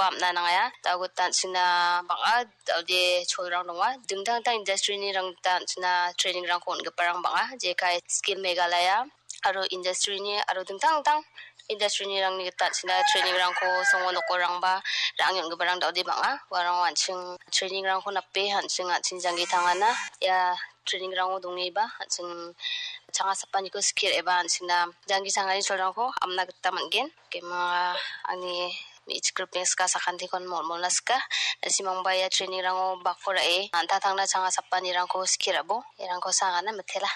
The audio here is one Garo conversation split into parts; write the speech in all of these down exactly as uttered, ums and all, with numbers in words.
bamna nangaya. Da·o gita an·chingna bang·a, da·ode cholrang donga. Dingtang dingtang industry-ni rang gita an·chingna training-rangko on·giparang bang·a. Jekai Skill Meghalaya aro industry-ni aro dingtang dingtang industry-ni rangni gita an·chingna training-rangko songo nokorangba ra·angni on·giparang da·ode bang·a. Uarang an·ching training-rangko nape an·ching, an·ching janggi tangana. Ia training-rango dongeba an·ching changa sapaniko skir eba an·chingna janggi changani cholrangko amna gita man·gen. Kema angni me·chik ripeng ska sakantikon mol-, molna ska. Na·simangba ia training-rango bako ra·e an·tangtangna changa sapanirangko skir abo. Irangko sangana mitela.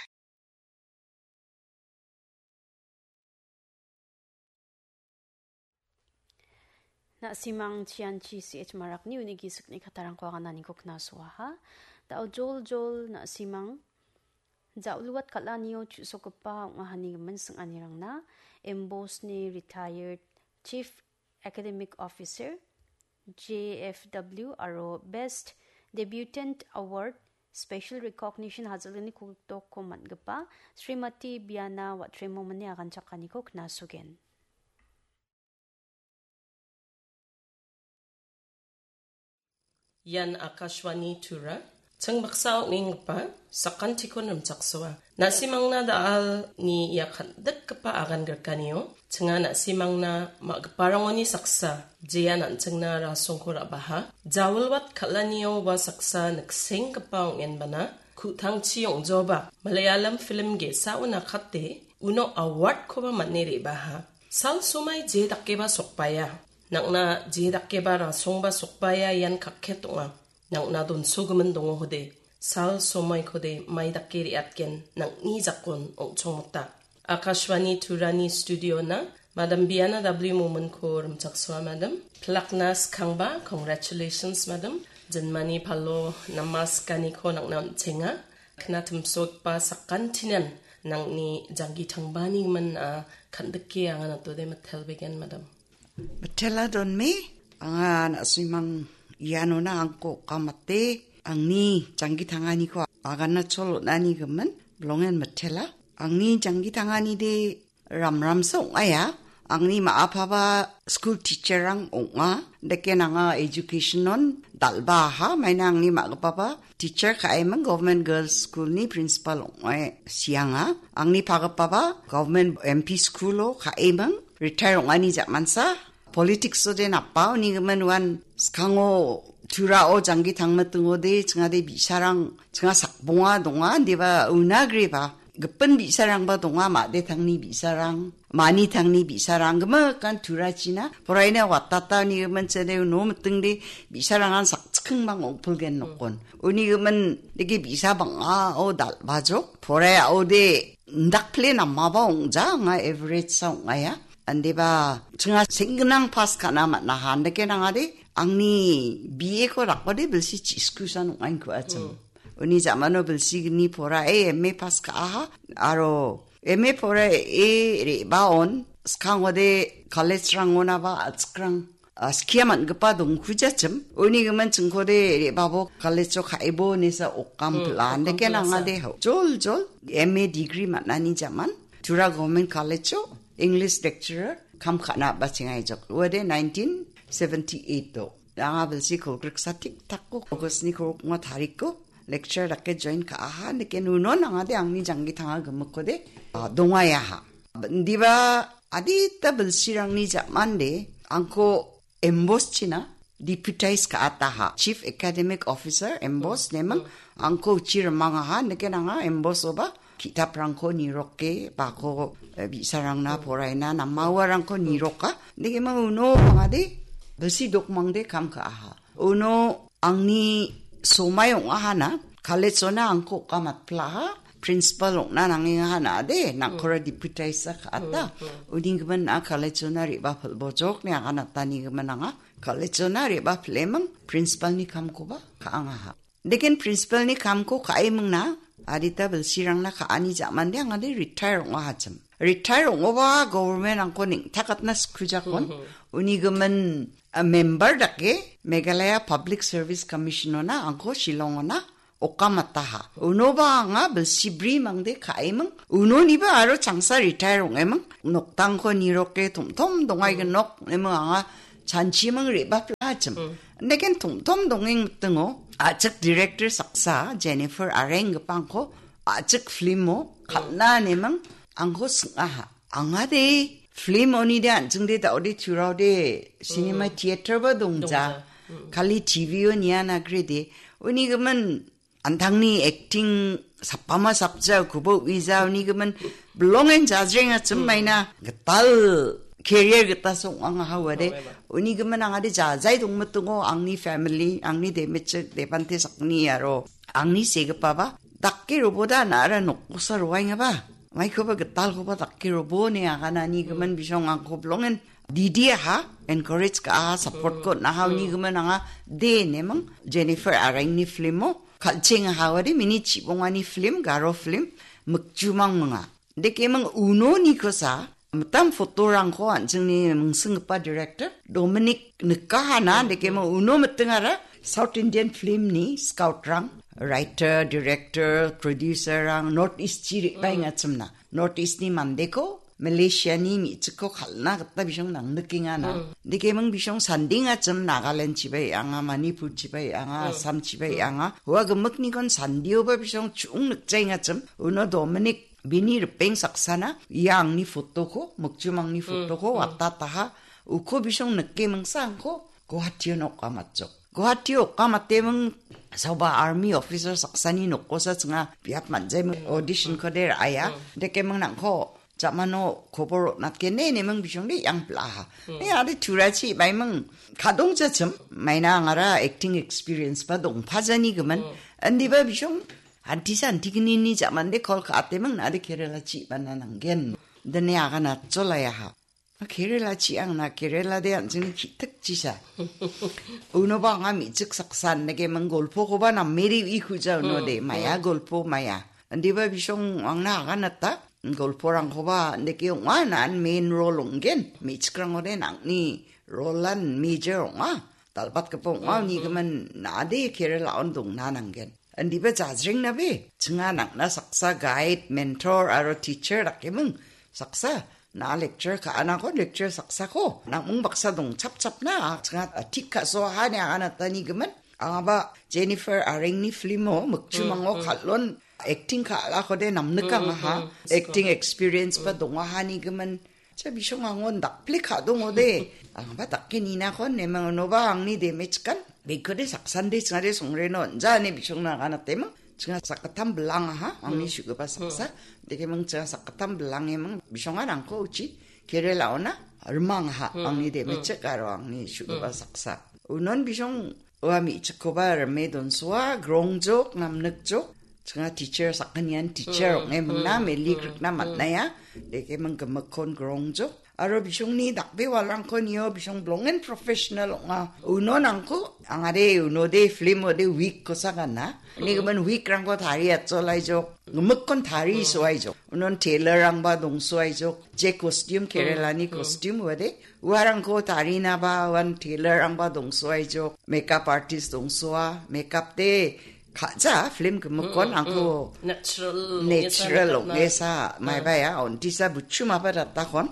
Na·simang chianchi C H Marakni uni gisik ni·katarangko agananiko knasoaha. Da·o joljol na·simang ja·oluat kal·anio chu·sokgipa ong·ahani gimin sing·anirangna M B O S ni retired Chief Academic Officer, J F W aro Best Debutant Award Special Recognition hajal gni kogiptokko man·gipa Srimati Biana Watremomini aganchakaniko knasogen. Ian Akashvani Tura. Ching baksa ong·enggipa sakantikon rimchaksoa. Na·simangna da·alni ia kandikgipa agan grikanio, chinga na·simangna ma·giparangoni saksa, jean an·chingna rasongko ra·baha. Jawilwat kal·anio ua saksa niksenggipa ong·enbana, ku·tangchi ong·joba, Malayalam film ge·sao nakate, uno award-koba man·e re·baha. Sal somai je dakeba sokbaia. Nang·na je dakeba rasongba sokbaia ian kakket ong·a. Nang·na donsogimin dongohode. Sal somaikode mai dake re·atgen nang·ni jakon ong·chongmota. Akashvani Turani studio-na Madam Biana W Mominko rimchaksoa, Madam. Pilakna skangba, congratulations, Madam. Jinmani palo namaskaniko nang·na on·chenga. Knatimsogipa sakantinan nang·ni janggi tangbani gimin, a, kandike anga natode mitelbegen, Madam. Mitela donme, anga na·simang ianona angko okamate, angni janggi tanganiko agana chol on·ani gimin, bilongen mitela. Angni janggi tanganide ramramsa ong·aia. Angni ma·apaba skul teacher-rang ong·a. Dake nanga education-on dal·baaha. Maina angni ma·gipaba teacher ka·eming Government Girls School-ni principal ong·e sianga. Angni pagipaba Government M P School-o ka·eming. Retire ong·ani ja·mansa. Politics-ode napa uni gimin uan skango Turao janggi tangmitingode chingade bi·sarang chinga sakbonga donga, indiba una griba. Gipin bi·sarangba donga, made tangni bi·sarang, mani tangni bi·sarang, gimikan Turachina, poraina watata uni gimin chede uno mitingde bi·sarangan sakchikingbang ong·pilgen nokon. Uni gimin dege bi·sa bang·a, o dal·bajok, poraiaode indakpile namaba ong·ja, anga average sa ong·aia. Andeba, chinga senggnang pass ka·na man·aha, andake nangade, angni B A-ko dakode bilsi chiskusan ong·ain ku achim. Uni ja·mano bilsigni porae M A pass ka·aha, aro M A porae re·baon skangode college-rangonaba a·chikrang, a, skia man·gipa dongkujachim. Uni gimin chingkode re·babo college-o ka·ebo nesa okam pila. Andake nangade hau. Jol jol M A degree man·ani ja·man. Tura Government College-o English lecturer kam ka·na ba chengaijok. Uade nineteen seventy-eight-o. Anga bilsi kolgriksa tik takko August-ni kolgrikma tarikko lecture dake join ka·aha, nike nuno nangade angni janggi tanga gimikkode, a, dongayaha. Indiba adita bilsirangni ja·mande angko M B O S china deputize ka·ataha. Chief Academic Officer M B O S neming angko uchi rimangaha, nike nanga M B O S-oba ki·taprangko niroke, bako, eh, bi·sarangna poraina, namawarangko niroka. Nike mang uno angade, bilsi dokmangde kam ka·aha. Uno angni somai ong·ahana, college-ona angko oka matplaha, principal ong·na nangengahana ade, nangkora deputize ka·ata. Uni gimin a college-ona re·bapilbojok ne aganatani gimin anga, college-ona re·bapileming, principal-ni kamkoba ka·angaha. Deken principal-ni kamko ka·emingna, adita bilsirangna ka·ani ja·mande angade retire ong·ahachim. Retire ong·oba government angko neng·takatna skujakon. Uni gimin, a, member dake Meghalaya Public Service Commission-ona angko Shillong-ona okamataha. Unoba anga bilsi bri mangde ka·eming. Unoniba aro changsa retire ong·eming. Noktangko niroke tom tom dongaigenok neming anga chanchimang re·bapla achim. Neken tongtom dongeng mitingo, achik director saksa, Jennifer Areng gipangko, achik filmo, kalna nemang, angko singaha. Angade, film oni de anjing de daode turao de, cinema theater ba dongja. Dongja. Kali T V o nian agrede. Uni gimin, antangni acting sapama sapja kubo uija uni gimin belongen jajreng achim maina gital career gita song ang hawade. Uni gimin angade jajai dongmetungo angni family, angni demechik, debante sakni aro angni segipa ba. Dakke roboda nara nokkosa roainga ba. Maikoba gital koba dakke robo ne aganani gimin bisong angko belongen. Didi aha, encourage ka aha, support ko naha uni gimin anga de nemang Jennifer Areng ni film o. Kalcheng hawari mini chibongani film, garo film, mikjumang manga. Deke mang uno ni kosa, mitam foto rangko anjingni mingsinggipa director, Dominic Nikahana, deke mang uno mitingara, South Indian film ni scout rang, writer, director, producer rang, North East chiri bai ngachimna. North East ni mandeko, Malaysia ni mi·chikko kal·na gita bisong nangnikengana. Dikeming bisong sandingachim Nagaland chibai anga, Manipur chibai anga, Assam chibai anga. Ua gimiknikon sandioba bisong chu·ung nikjaingachim. Uno Dominic bini ripeng saksana, ia angni fotoko, mokchum angni fotoko, watataha. Uko bisong nikemingsa angko Guwahati-o nok amatjok. Guwahati-o okamateming saoba army officer saksani nokosa chinga biap manjaiming audition ko de ra·aia. Dekeming nangko jamano kobor natke ne neming bisong de yang plaha. Ne ade turachi baiming kadong jachim maina angara acting experience ba dongpajani gimin. Andiba bisong antisa antignini jamande call ka ateming na ade Kerala chi bana nanggen. Dene aga natsolaiaha. Kerala chi angna Kerala de anjingni ki·tik chisa. Uno ba anga mi·chik saksan nege mang golpo koba nameri i kuja uno de. Maya golpo maya. Andiba bisong angna aganata golporangkoba nege ong·a nan main role ong·gen. Mi·chikrangode nangni role-an major ong·a. Dalbatgipa ong·a uni gimin nade Kerala on dongna nanggen. Andiba jajrengnabe, chinga nangna saksa guide, mentor aro teacher dakeming saksa. Na lecture ka·anako lecture saksako nang·ming baksa dongchapchapna, chinga, a, tik ka·so hani aganatani gimin. Angaba Jennifer Arengni film-o mikchumango kal·on acting ka·alakode namnikangaha. Acting experience ba dongahani gimin. Cha bisong angon dakple ka·dongode. Angaba dakke ninakon nemang unoba angni damage kan. Bekode saksan de chingade songreno anja ine bisong nagana temang. Chinga sakgittam bilangaha angni su·gipa saksa. Dekemang chinga sakgittam bilangemang bisongan angko uchi Kerala ona rimangaha angni damage aro angni su·gipa saksa. Unon bisong ua mi·chikkoba rime donsoa, grongjok, namnikjok. Chinga teacher sakgnian teacher ong·e mingna, meli grikna man·aia. Deke ming gimikkon grongjok. Aro bisongni dakbe walrangko nio bisong blongen professional ong·a. Uno nangko, angade uno de film ode week kosa gana. Ni gimin week rangko tari atso laijok. Gimikkon tari so aijok. Unon tailor rangba dongso aijok. Je costume, Kerala ni costume wade. Uarangko tarina ba uan tailor rangba dongso aijok, makeup artist dongsoa, makeup de ka·ja film gimikkon angko natural natural ong·esa maibaia ontisa buchumaba datakon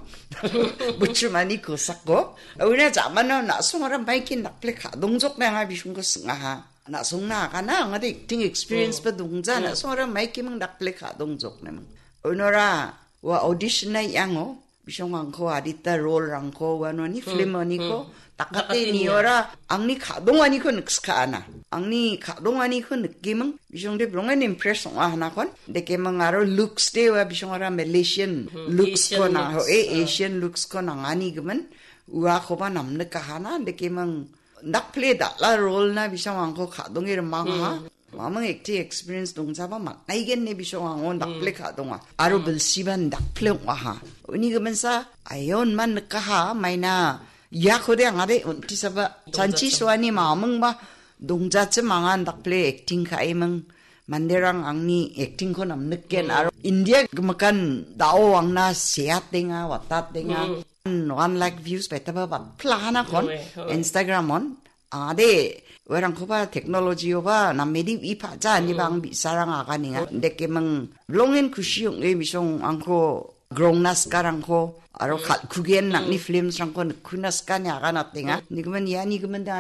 buchumani kosako. Uina jamano na·songara maikin dakple ka·dongjokna anga bisongko singaha. Na·songna agana angade acting experience ba dongja na·songara maikiming dakple ka·dongjokneming. Unora ua audition na iango bisong angko adita role rangko uanoni film oniko dakate niora angni ka·donganiko nikska·ana. Angni ka·donganiko nikiming bisong de brongen impress ong·a hanakon. Dekeming aro looks de ua bisongara Malaysian looks ko nang-, e, Asian looks ko nangani gimin uakoba namnikahana dekeming dakple dal·a role na bisong angko ka·donge rimangaha. Mamang acting experience dongjaba man·aigen ne bisong angon dakple ka·donga. Aro bilsiban dakple ong·aha. Uni giminsa ayon man nikaha maina iakode angade ontisaba chanchi suani mamingba dongjachim angan dakple acting ka·eming manderang angni acting ko namniken aro India gimikan dao angna seatenga, watatenga. One lakh views baitaba batplahanakon Instagram on. Ade, uarangkoba technology oba namedi ipaja ani bang bisarang aganinga. Dekemang blongen kushi ong·e bisong angko grongna sikarangko, aro kal-, kugen nangni filmsrangko nikkuna sikani aganatenga. Nigimin, ia nigimin da